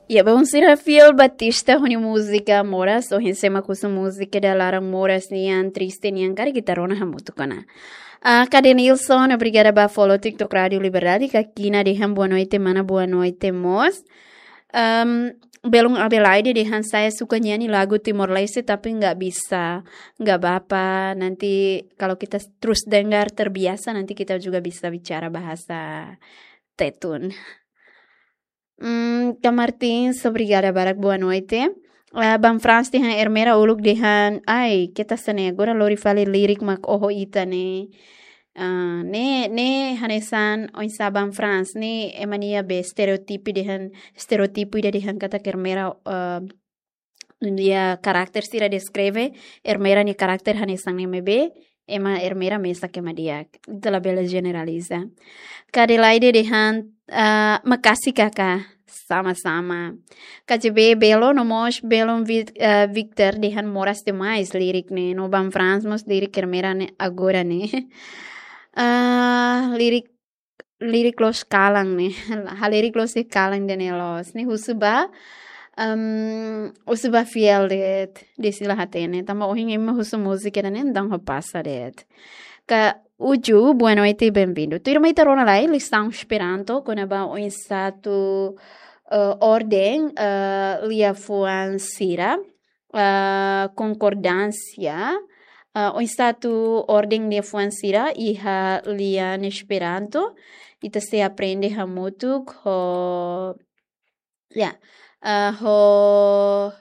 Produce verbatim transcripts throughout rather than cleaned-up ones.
Ya, bom, sira fiel Batista ho nia múzika Moras, ohin sé mak husu múzika ida laran moras nian, triste nian, karik ita rona hamutuk ona. Ah, Kade Nilson, obrigada ba follow TikTok Rádio Liberdade, Kakina dehan boa noite, mana, boa noite mós. Em, Belun Adelaide dehan saya suka nyanyi lagu Timor Leste, tapi nggak bisa, nggak apa-apa. Nanti kalau kita terus dengar terbiasa, nanti kita juga bisa bicara bahasa Tetun. Hmm, Ka Martins, obrigada barak, boa noite. Ah, Ban Frans dehan Ermera uluk dehan, ai, keta sene, agora lori fali lirik mak oho ita ne'e. Ah, ne'e, ne'e hanesan oinsá Ban Frans, ne'e ema nia be estereótipu dehan, estereótipu ida dehan katak Ermera, ah, nia karakter sira deskreve, Ermera nia karakter hanesan ne'e maibé, ema Ermera mesak ema di'ak. Ita labele jeneraliza. Ka Adelaide dehan, ah, makasih kakak, sama-sama. Ka J B Belo, no mós Belun Vic-, ah, Victor dehan moras demais lirik ne'e, no Ban Frans mós lirik Ermera ne'e agora ne'e. Ah, lirik, lirik loos kalan ne'e. Halerik loos kalan ida ne'e loos. Ne'e husu ba, em, husu ba fiel de'it, de'it sira la hatene. Tanba ohin ema husu múzika ida ne'e, entaun ha'u pasa de'it. Ka Uju, boa noite, bem-vindo. Tuirmai ita rona lai lisaun Esperanto, kona-ba oinsá atu, eh, orden, eh, liafuan sira, eh, konkordánsia, eh, oinsá atu orden liafuan sira iha lian Esperanto, ita sei aprende hamutuk ho, ya, eh, ho,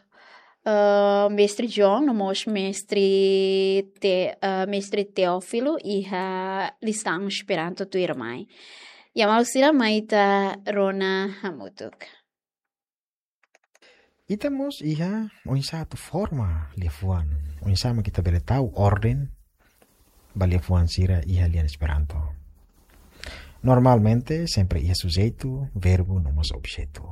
eh, Mestre John, no mós Mestre Te-, eh, Mestre Teófilo iha lisaun Esperanto tuirmai. Ya, maluk sira, mai ita rona hamutuk. Ita mós iha oinsá atu forma liafuan, oinsá mak ita bele tau orden ba liafuan sira iha lian Esperanto. Normalmente, sempre iha sujeitu, verbu, no mós objetu.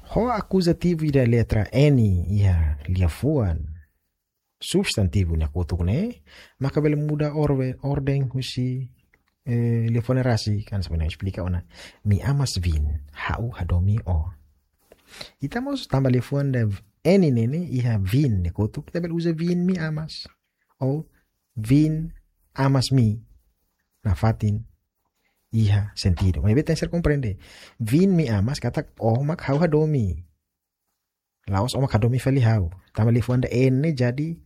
Ho akuzativu ida letra N iha liafuan substantivu nia kotuk ne'e, maka bele muda orwe-, orden husi, eh, liafuan ne'e rasik, kan sebenarnya esplika ona. Mi amas vin, ha'u hadomi ó. Ita mós tanba liafuan ida N ne'e ne'e iha vin nia kotuk, ita bele uza vin mi amas. Ou vin amas mi. Nafatin iha sentidu. Maibé tenke ser komprende. Vin mi amas katak ó mak ha'u hadomi. La'ós ó mak hadomi fali ha'u. Tanba liafuan ida N ne'e jadi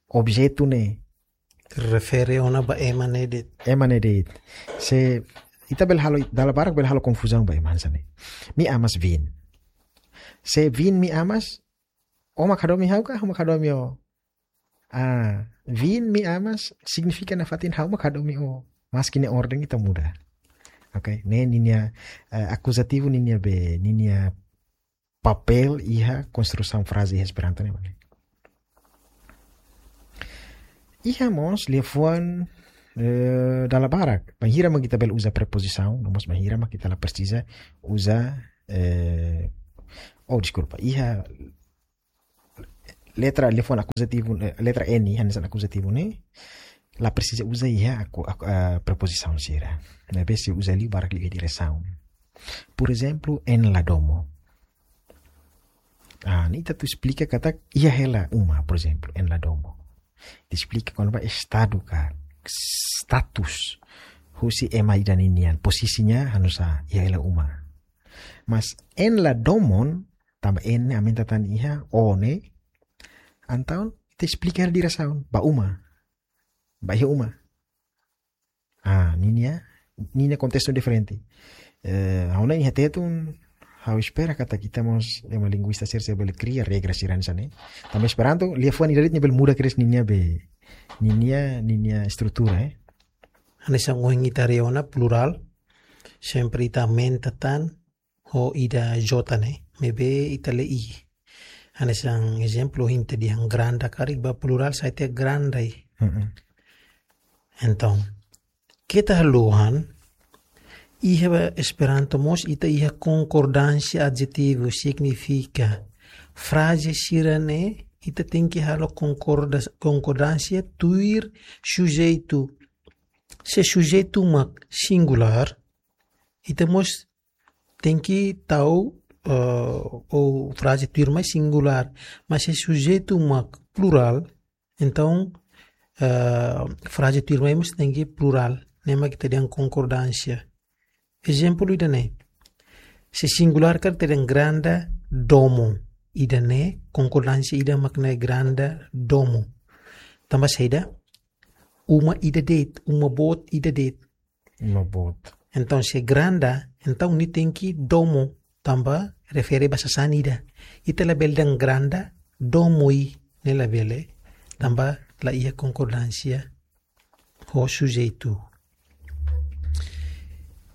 objetu ne'e. Refere ona ba ema ne'e de'it. Ema ne'e de'it. Se ita bele halo, dala barak bele halo konfuzaun ba ema hanesan ne'e. Mi amas vin. Se vin mi amas, ó mak hadomi ha'u ka, ha'u mak hadomi ó. Ah, vin mi amas signifika nafatin ha'u mak hadomi ó. Maski nia orden ita muda. Oke, ne'e ninia, eh, akuzativu ninia be, ninia papél iha konstrusaun fraze iha Esperanto ne'e, mane. Iha mós liafuan, eh, dala barak. Bainhira mak ita bele uza prepozisaun, no mós bainhira mak ita la presiza uza, eh, oh, deskulpa. Iha letra, liafuan akuzativu, eh, letra N, hanesan akuzativu ne'e, la presiza uza iha aku-, aku-, eh, prepozisaun sira. Maibé sei uza liu barak liu iha diresaun. Por ezemplu, en la domo. Ah, ne'e ita atu esplika katak iha hela uma, por ezemplu, en la domo. Ita esplika kona-ba estadu ka status husi ema ida ninian, pozisinya hanesan iha hela uma. Mas en la domon, tanba en ne'e aumenta tan iha ó ne'e, entaun ita esplika hela diresaun, ba uma. Ba iha uma. Ah, ninia, ninia kontestu diferente. Eh, ha'u hanoin iha Tetun, ha'u espera katak ita mós ema linguista sira sei bele kria regra sira hanesan ne'e. Tanba Esperanto, liafuan ida de'it nia bele muda kedas ninia be, ninia, ninia estrutura, eh. Hanesan ohin ita haree ona plurál, sempre ita aumenta tan ho ida J ne'e, maibé ita lee i. Hanesan ezemplu, ohin ita dehan granda karik ba plurál sai tiha grandai. Mm-mm. Entaun, keta haluha, iha Esperanto mós ita iha konkordánsia adjetivu, signifika fraze sira ne'e ita tenke halo konkorda-, konkordánsia tuir sujeitu. Se sujeitu mak singulár, ita mós tenke tau eh, ou fraze tuirmai singulár, mas se sujeitu mak plurál, entaun, eh, fraze tuirmai mós tenke plurál, ne'e mak ita dehan konkordánsia. Ezemplu ida-ne'e. Se singulár karik ita dehan granda domo. Ida-ne'e konkordánsia ida mak ne'e granda domo. Tanba saida? Uma ida de'it, uma boot ida de'it. Uma boot. Entaun, se granda, entaun nia tenke domo, tanba refere ba sasán ida. Ita labele dehan granda domoi, ne'e labele, tanba la iha konkordánsia ho sujeitu.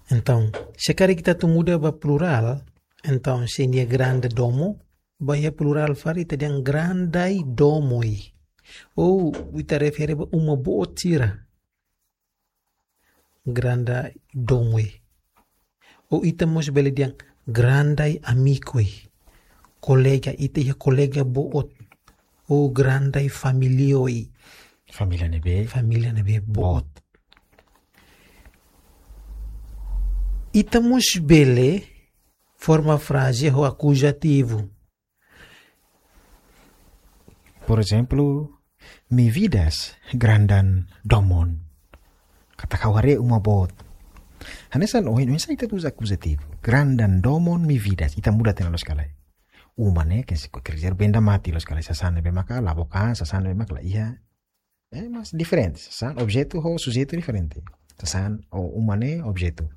Entaun, se karik ita atu muda ba plurál, entaun, se nia granda domo, ba iha plurál fali ita dehan grandai domoi. Ou ita refere ba uma boot sira. Grandai domoi. Ou ita mós bele dehan grandai amikoi. Kolega, ita iha kolega boot. Ou grandai familia oi. Família ne'ebé. Família ne'ebé boot. Boot. Ita mós bele forma fraze ho akuzativu. Por ezemplu, mi vidas grandan domon. Katak ha'u haree uma boot. Hanesan ohin, oinsá ita uza akuzativu. Grandan domon mi vidas. Ita muda tiha ona loos ka lae. Uma ne'e, ke se ko kerja benda mati loos ka lae. Sasán ne'ebé maka la book an, sasán ne'ebé maka la iha. Eh, mas diferente. Sasán, objetu ho sujeitu diferente. Sasán, ou uma ne'e objetu.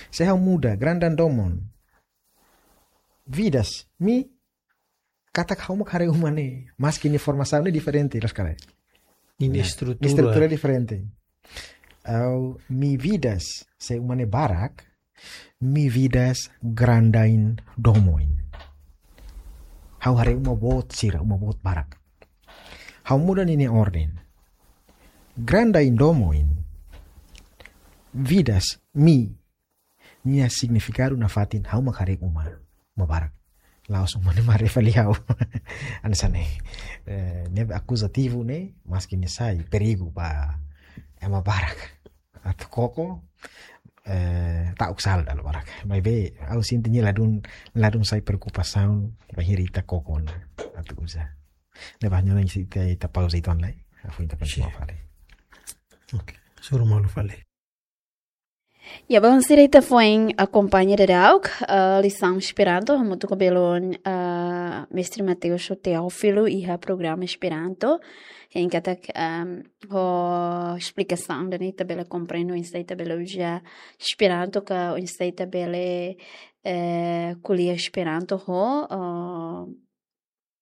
Se ha'u muda, grandan domon. Vidas, mi, katak ha'u mak haree uma ne'e. Maski nia formasaun ne'e diferente, loos ka lae. Nia, ya, estrutura. Estrutura diferente. Ou mi vidas, se uma ne'e barak, mi vidas grandain domoin. Ha'u haree uma boot sira, uma boot barak. Ha'u muda ninia orden. Grandain domoin. Vidas, mi. Nia signifikadu nafatin ha'u mak haree uma, uma barak. La'ós uma ne'e mak haree fali ha'u. Hanesan ne'e. Eh, ne'e akuzativu ne'e, maski nia sai perigu ba ema barak. Atu koko, eh, ta'uk sala dala barak. Maibé, ha'u sente nia ladún, ladún sai preokupasaun, bainhira ita koko ona. Atu uza. Ne'ebé ha'u hanoin ita, ita pauza uitoan lai. Ha'u foin ita kontinua fali. Oke, hasoru malu fali. Ya, bainhira ita foin akompaña daudauk, eh, lisaun Esperanto, hamutuk ho belun, eh, Mestre Mateus Teófilo, iha programa Esperanto. Hein katak, ehm, ho esplikasaun ida-ne'e ita bele komprende, oinsá ita bele uza Esperanto, ka oinsá ita bele, eh, ko'alia Esperanto ho, eh,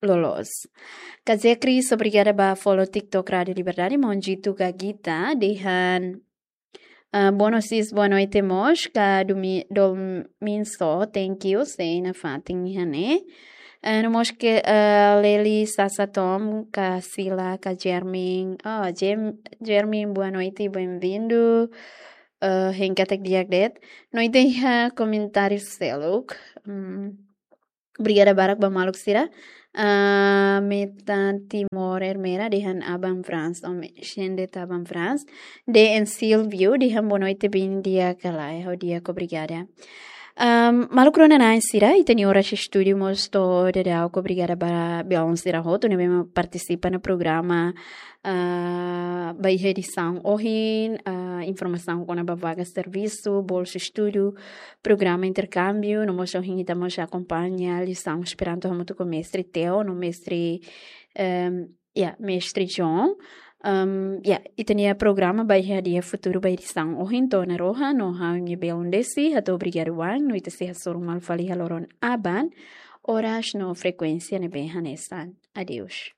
loloos. Kazia Cris, obrigada ba follow TikTok Rádio Liberdade, maun Jitu Gagita, dehan, ah, boa noite, boa noite mós, ka Domi-, Dominso, thank you, sei nafatin iha ne'e. Ah, no mós ke, ah, Leli Sasa Tom, ka Sila, ka Jermin. Oh, Jem-, Jermin, boa noite, bem-vindo. Ah, hein katak di'ak de'it. No ita iha komentáriu seluk. Hmm. Obrigada barak ba maluk sira. Ah, Meta Timor Ermera dehan aban Frans, o me, shende taban Frans. D N Silvio dehan boa noite, bin di'ak ka lae, ha'u di'ak, obrigada. Ahm, maluk rona-na'in sira, ita-nia oras estúdiu mós to'o daudauk, obrigada ba belun sira hotu ne'ebé mak partisipa iha programa, ah, ba iha edisaun ohin, ah, informasaun kona-ba vaga servisu, bolsa estudu, programa interkámbiu, no mós ohin ita mós akompaña lisaun Esperanto hamutuk ho Mestre Teo, no Mestre, ehm, ya, Mestre John. Ehm, ya, ita-nia programa ba iha dia futuru ba edisaun ohin to'o ona rohan, no ha'u-nia belun Desi, hato'o obrigadu oan, no ita sei hasoru malu fali iha loron aban, oras no frekuénsia ne'ebé hanesan. Adeus.